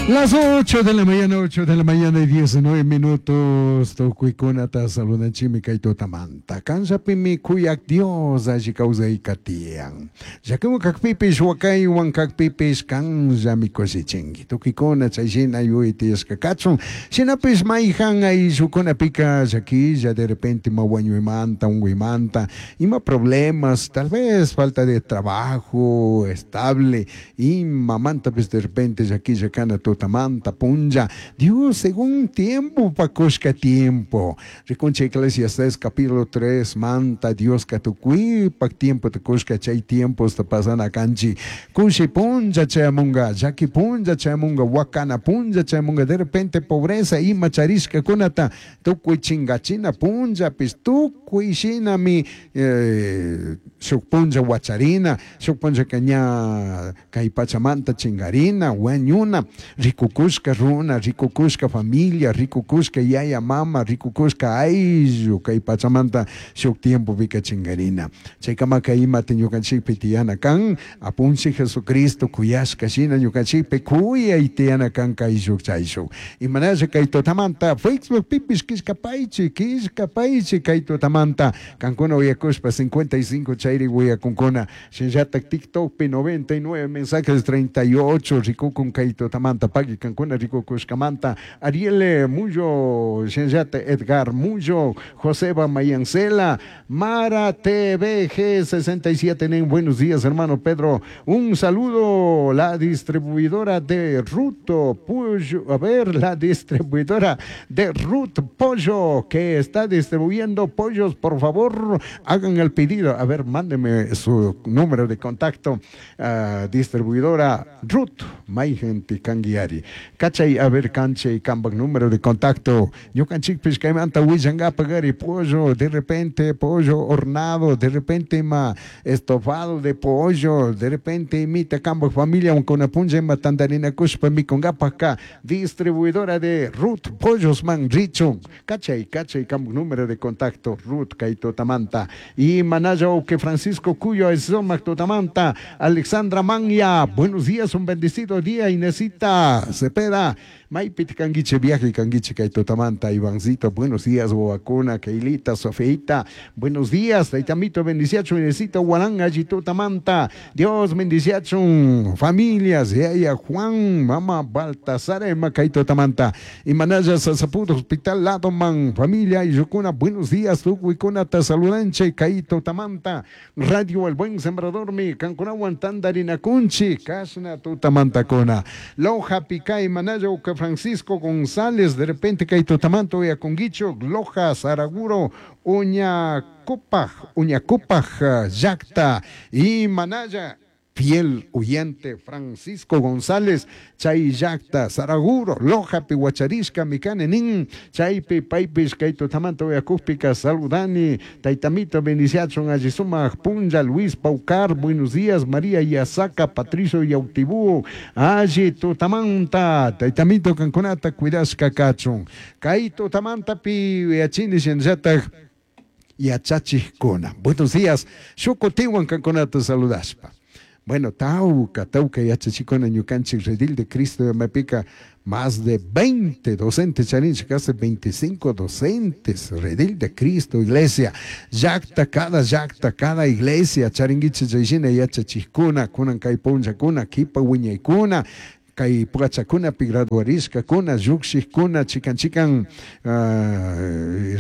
Las 8 de la mañana, 8 de la mañana y 19 minutos. Tukuikunata saludanchimi kay tutamanta. Kanllapimi kuyak Dios alli kawsayka tiyan. Llakiwan kakpipish, wakaywan kakpipish kanllami kushichinki. Tukuykuna chay shina yuyay tiyashka kachun. Shinapish mayjan ayllukunapika llakilla de repente ima wañuymanta, unkuymanta, ima problemas, tal vez falta de trabajo estable, imamantapis de repente llakilla kana tutamanta punlla. Dios según tiempo pakushka tiempo. Rikunchik Eclesiastes capítulo 3 manta Dioska tukuypak tiempo tukushka chay tiemposta pasana kanchik. Kushi punlla chayamunga, llaki punlla chayamunga, wakana punlla chayamunga, de repente pobreza ima charishkakunata tukuy chingachina punllapis tukuy shinami shuk punlla wacharina, shuk punllaka ña kay pachamanta chingarina, wañuna, rikukushka runa, rikukushka familia, rikukushka yaya mama, rikukushka ayllu kay pachamanta shuk tiempopika chingarina. Chaykamaka imata ñukanchikpi tiyana kan, apunchik Jesucristo kuyashka shina ñukanchikpi kuyay tiyana kan kayshuk chayshuk. Imanasha kay tutamanta Facebook pipish killkapaychik, killkapaychik kay tutamanta kankuna uyakushpa 55 chayri uyakunkuna, shinallatak TikTokpi 99 mensajes 38 rikukun kay tutamanta paki kankuna rikukushkamanta Ariel Muyo, shinallatak Edgar Muyo, Joseba Mayancela, Mara TVG 67 nen, buenos días hermano Pedro, un saludo, la distribuidora de Ruto Pollo, a ver, la distribuidora de Ruth Pollo que está distribuyendo pollos, por favor hagan el pedido, a ver, mándeme su número de contacto, distribuidora Ruth Maygenti kanguiari, cachay, a ver, canche y cambak número de contacto, ñukanchikpish kaymanta willankapak pollo, de repente pollo hornado, de repente ima estofado de pollo, de repente imita kambak familia unkuna punlla ima tantarinakushpa mikunkapakka, distribuidora de Ruth Pollos man richun, cachay, cachay kambak número de contacto Ruth kay tutamanta, y manaya que Francisco Cuyo es tutamanta, Alexandra Manya, buenos días, un bendecido día, Inesita Cepeda, maypit kanguiche viaje kanguiche kay tutamanta, Ivancito, buenos días, Boacuna, Keilita, Sofeita, buenos días, Taitamito, bendiciacho, Inesita, Guaranga, tutamanta, Dios bendiciacho, familias, Yaya Juan, Mama Baltasar, Emma kay tutamanta, y Manaya Sasaputo, Hospital Ladoman, familia y Yukuna, buenos días, Tukuikuna, te saludanche, kay tutamanta, Radio El Buen Sembrador, mi Cancunawan, Tandarina Kunchi, Kashna tutamanta kuna, Loja Picay, Manaya Uca Francisco González, de repente kay tutamanto ya conguicho, Loja, Saraguro, Uñacopaj, Uñacopaj, Yacta y Manaya, fiel oyente Francisco González, chay llakta, Saraguro, Loja, Pihuacharishka, Mikane, nin, chaypi, paypish, kay tutamanta uyakukpika, saludani, taytamito, bendiciachun, allisumaj, punlla, Luis Paucar, buenos días, María Yasaca, Patricio Yautibú, alli tutamanta, taytamito, kankunata, cuidashka kachun, kay tutamanta pi, yachini, shinallatak, yachachikuna. Buenos días, shukutiwan kankunata saludashpa. Bueno, tauca, tauca yachachikuna ñukanchik redil de Cristo de Mapica, más de 20 docentes, charinchik, casi 25 docentes, redil de Cristo, iglesia, llakta, cada iglesia, charinguiche chayshina yachachikuna, kunan kay punllakuna, kipa wiñaykuna, kay pukachakunapi graduarishkakuna, llukshikuna, chikan chikan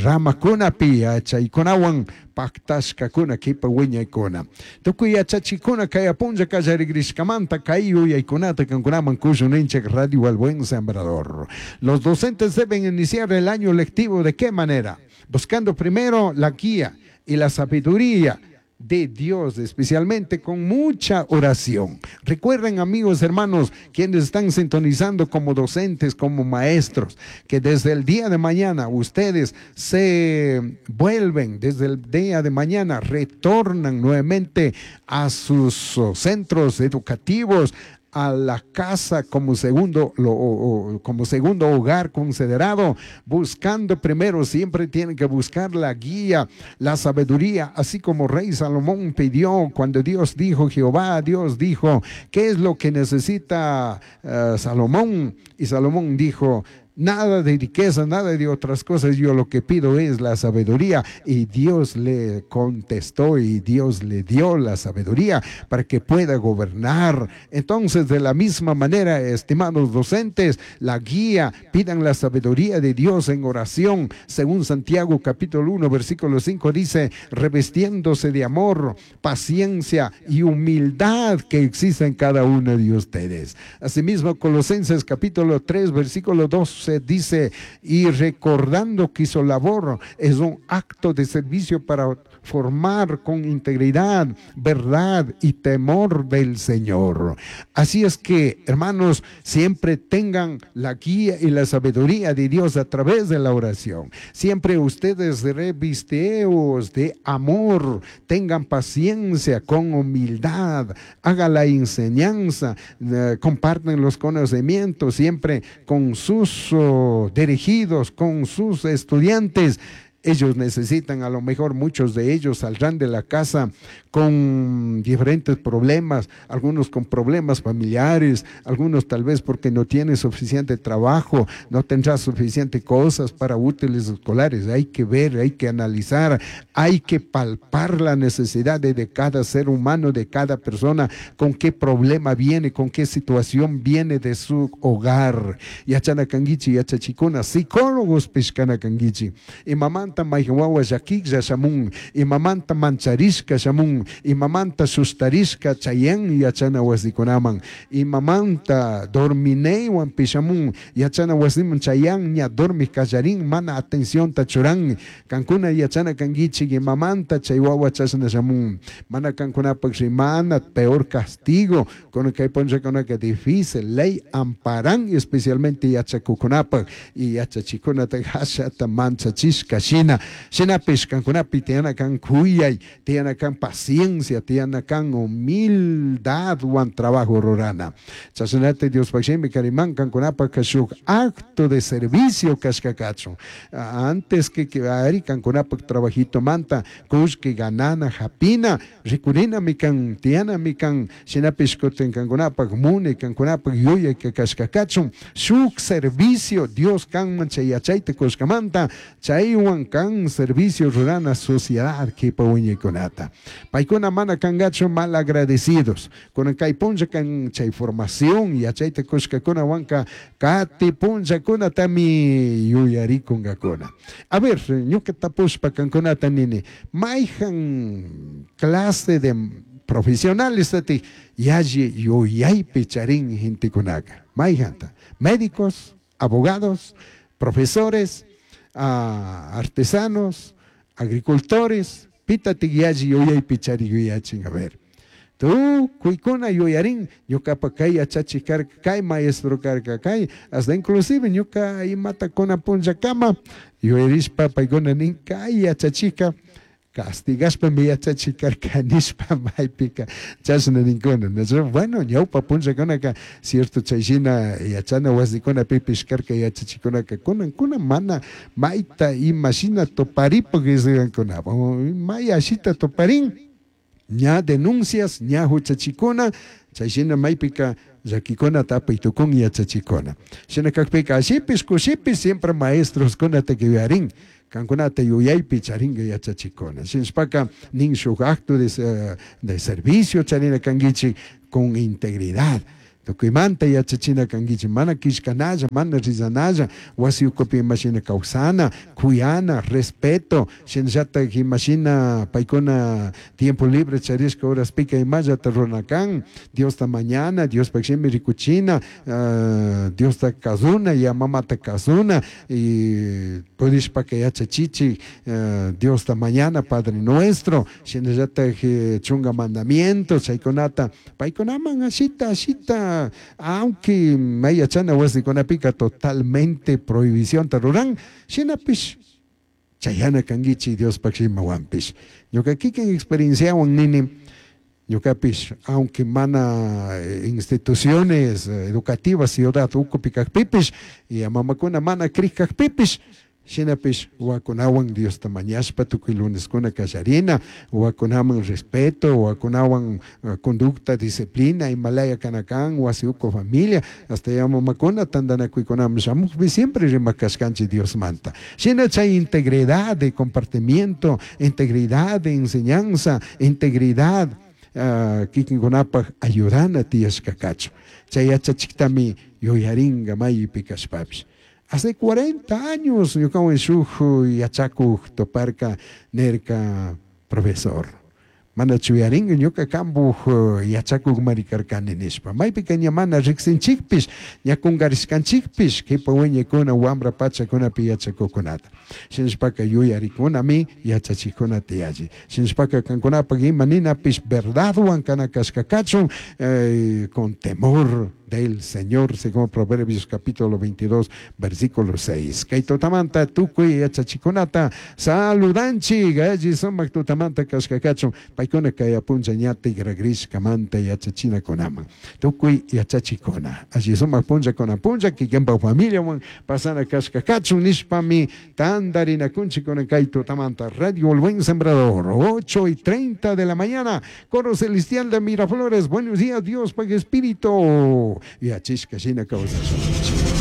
ramakunapi yachaykunawan paktashkakuna, kipa wiñaykuna. Tukuy yachachikuna kay apunlla kallarigriskamanta kay yuyaykunata kankunaman kushuninchik Radio El Buen Sembrador. Los docentes deben iniciar el año lectivo ¿de qué manera? Buscando primero la guía y la sabiduría de Dios, especialmente con mucha oración. Recuerden, amigos, hermanos, quienes están sintonizando como docentes, como maestros, que desde el día de mañana ustedes se vuelven, desde el día de mañana retornan nuevamente a sus centros educativos, a la casa como segundo, como segundo hogar considerado, buscando primero, siempre tienen que buscar la guía, la sabiduría, así como rey Salomón pidió cuando Dios dijo, Jehová Dios dijo, ¿qué es lo que necesita Salomón? Y Salomón dijo, nada de riqueza, nada de otras cosas, yo lo que pido es la sabiduría. Y Dios le contestó y Dios le dio la sabiduría para que pueda gobernar. Entonces, de la misma manera, estimados docentes, la guía, pidan la sabiduría de Dios en oración. Según Santiago capítulo 1, versículo 5 dice, revestiéndose de amor, paciencia y humildad que existe en cada uno de ustedes. Asimismo, Colosenses capítulo 3, versículo 2 dice, y recordando que su labor es un acto de servicio para formar con integridad, verdad y temor del Señor. Así es que, hermanos, siempre tengan la guía y la sabiduría de Dios a través de la oración. Siempre ustedes revisteos de amor, tengan paciencia con humildad, hagan la enseñanza, comparten los conocimientos siempre con sus dirigidos, con sus estudiantes. Ellos necesitan, a lo mejor muchos de ellos saldrán de la casa con diferentes problemas, algunos con problemas familiares, algunos tal vez porque no tienen suficiente trabajo, no tendrán suficiente cosas para útiles escolares. Hay que ver, hay que analizar, hay que palpar la necesidad de cada ser humano, de cada persona, con qué problema viene, con qué situación viene de su hogar. Yachana kanguichi, yachachikuna, psicólogos pishkana kanguichi. Y mamanta maywan llakiklla shamun, imamanta mancharishka shamun, imamanta sustarishka chayan yachana wasikunaman, imamanta dormineywan pishamun, yachana wasiman chayan ña dormi kallarin, mana atención churan, kankuna yachana kanguichik, imamanta chay wawa chashna shamun, mana kankunapak rimana, peor castigo, con kay punllakunaka difícil, ley amparan, especialmente yachakukunapak, y yachachikunata hashata manchachishka shina, shinapish kankunapi tiyana kan kuyay, tiyana kan paciencia, tiyana kan humildad wan trabajo rurana. Chashnata Diospaj shimi kariman kankunapak shuk acto de servicio kashkakachun. Antes que ari kankunapak trabajito manta, kushki ganana japina, rikurina mi kan, tiyana mi kan, shinapish kutin kankunapak muni, kankunapak yuyay kashkakachun, shuk servicio Dios kanman chay yachayta kushkamanta, chaywan kan servicio rurana sociedad kipa wiñaykunata. Paykuna mana kangachu mal agradecidos. Kunan kay punlla kan chay formación yachayta kushkakuna wanka kati punllakunatami yuyarikunkakuna. A ver, ñuka tapushpa kankunata nini, mayhan clase de profesionales tati yalli yuyaypi charin gentekunaka. Mayhanta, médicos, abogados, profesores, artesanos, agricultores, pitati yalli yuyaypi chari yuyachin. A ver, tu kuykuna yuyarin, ñukapa kay yachachi karka, kay maestro karka, kay, hasta inclusive ñuka imata kuna punllakama, yuyarishpa paykuna nin kay yachachika, castigashpa mi yachachi karka nishpa maypika chashna ninkuna. Bueno, ñawpa punllakunaka cierto chayshina yachana wasikuna pipish karka yachachikunaka kunankuna mana mayta imashina toparipak isgankuna, may ashita toparin, ña denuncias, ña huchachikuna, chayshina maypika llakikuna tapay tukun yachachikuna. Shina kakpika ashipish kushipish siempre maestros kunata yuyarin, kankunata yuyaypi charinga yachachikuna. Shinashpaka nin shuk acto de servicio charina kanguichi con integridad. Tukuymanta yachachina kanguichi, mana kishkanalla, mana rizanalla, wasi ukupi imashina kawsana, kuyana, respeto, shinallatak imashina paykuna tiempo libre charishka horaspika imallata runakan, Diosta mañana, Diospaj shimi rikuchina, Diosta kazuna, ya mamata kazuna, y pudishpaka yachachichi, Diosta mañana, Padre Nuestro, shinallatak chunga mandamiento, chaykunata, paykunaman ashita, ashita, aunque may yachana wasikunapika totalmente prohibición ruran, shinapish chayana kanguichi Diospaj shimawanpish. Ñuka kikin experienciawan nini, Ñukapish aunque mana instituciones educativas ciudad ukupi kakpipish y mamakuna mana crik kakpipish, shinapish wawakunawan Diosta mañashpa tukuy luneskuna kallarina, wawakunaman respeto, wawakunawan conducta, disciplina, imalaya kana kan, wasi uku familia, hasta ya mamakuna tantanakuykunaman shamukpi siempre rimak kashkanchik Diosmanta. Shina chay integridad de comportamiento, integridad de enseñanza, integridad kikinkunapak ayudana tiyashka kachun. Chay yachachiktami yuyaringa maypi kashpapish. Hace 40 años ñukawan shuk yachakuk toparka nirka, profesor, mana chuyaringa ñuka kambuj yachakuk marikarkani nishpa. Maypika ña mana riksinchikpish, ña kungarishkanchikpish, kipa wiñaykuna wambra pachakunapi yachakukunata. Shinashpaka yuyarikunami yachachikuna tiyalli. Shinashpaka kankunapak ima ninapish verdadwan kana kashka kachun, con temor del Señor, según Proverbios capítulo 22, versículo 6. Kay tutamanta tukuy yachachikunata saludanchik, alli sumak tutamanta kashka kachun, paykuna kay punlla ña tigragrishkamanta yachachinakunaman. Tukuy yachachikuna, alli sumak punllakuna punlla, kikinpak familiawan pasana kashka kachun nishpami tandarinakunchikuna kay tutamanta. Radio El Buen Sembrador, 8:30 de la mañana, Coro Celestial de Miraflores, buenos días, Dios, Padre Espíritu. Yachishka shina kawsashun.